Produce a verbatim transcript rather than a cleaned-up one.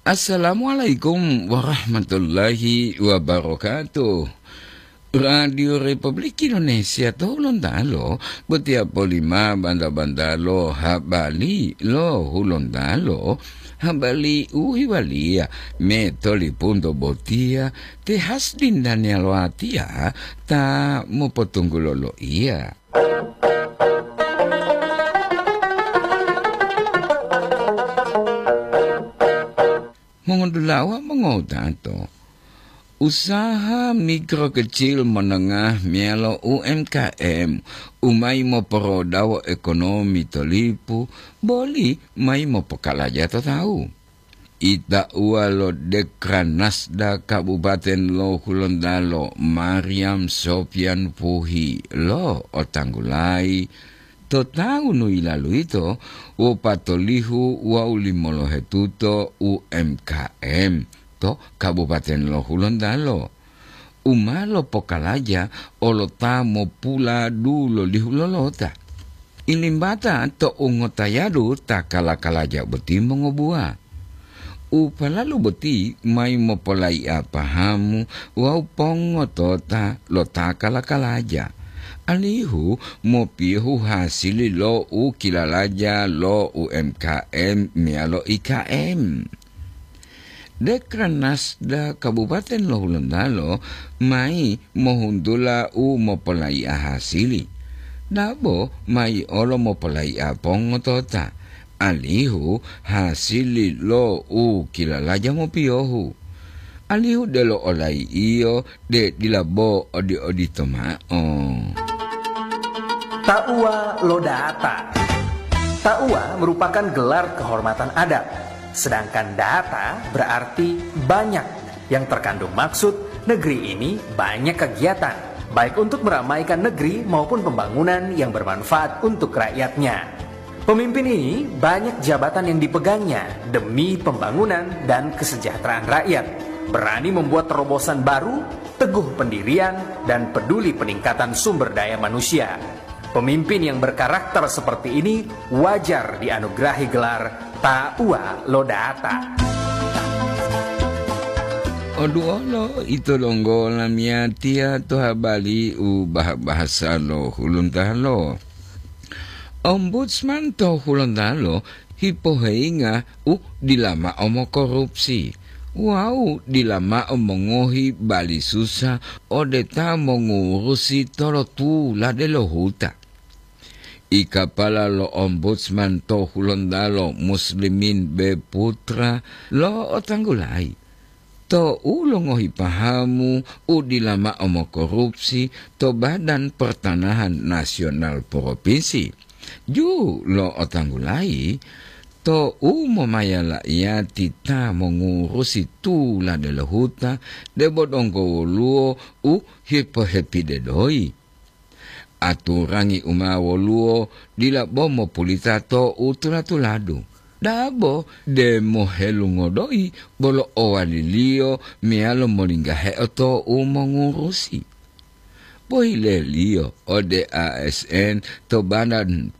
Assalamualaikum warahmatullahi wabarakatuh. Radio Republik Indonesia to Hulontalo, botiya polima banda-bandalo habari lo Hulontalo, habari u hiwaliya me tolipunto botiya te Hasdin Daniel Watiya ta mopotunggulo loiya. Mongodulawa mongowutato, usaha mikro kecil menengah meyalo U M K M u mayi moporodawo ekonomi to lipu boli mayi mopokalaja to tawu. Itauwa lo Dekranasda Kabupaten lo Hulontalo, Mariam Sofian Puhi, lo otanggulayi to tawu nu yilalu yito wopatolihu wawu limolohetuto U M K M to Kabupaten lo Hulontalo, u ma lopokalaja olo ta mopula dulolihu lolota. Ilimbata to ungotayadu ta kala-kalaja boti mongobuwa. U palalu boti mayi mopolayi'a pahamu wawu pongotota lo ta kala-kalaja, alihu mopiyohu hasili lo u kilalaja lo U M K M meyalo I K M. Dekranasda Kabupaten lo Hulontalo mayi mohuntula u mopolayi'a hasili, dabo mayi olo mopolayi'a pongotota, alihu hasili lo u kilalaja mopiyohu, alihu delo olayi'iyo de dila bo odi-odito mao. Tauwa lo data. Tauwa merupakan gelar kehormatan adat, sedangkan data berarti banyak, yang terkandung maksud negeri ini banyak kegiatan, baik untuk meramaikan negeri maupun pembangunan yang bermanfaat untuk rakyatnya. Pemimpin ini banyak jabatan yang dipegangnya demi pembangunan dan kesejahteraan rakyat. Berani membuat terobosan baru, teguh pendirian, dan peduli peningkatan sumber daya manusia. Pemimpin yang berkarakter seperti ini wajar dianugerahi gelar Tauwa lo Data. Oduolo ito donggo lamiyatiya to habari u bah-bahasa lo Hulontalo. Ombudsman to Hulontalo hipoheyinga u dila mao mokorupsi wawu dila mao mongohi bali susa ode ta mongurusi tolotula delohuta. Ikapala lo Ombudsman to Hulontalo, Muslimin B Putra, lo otanggulayi to u longohi pahamu u dila mao mokorupsi to Badan Pertanahan Nasional Propinsi. Ju lo otanggulayi to u momayalaiyati ta mongurusi tulade lo huta, debo donggo woluwo u hipohepide doyi. Aturangi u ma woluwo dila bo mopulita to u tula-tuladu. Dabo demo helungodoyi bolo owaliliyo meyalo molinggaheo to u mongurusi. Pohileliyo ode A S N to Badan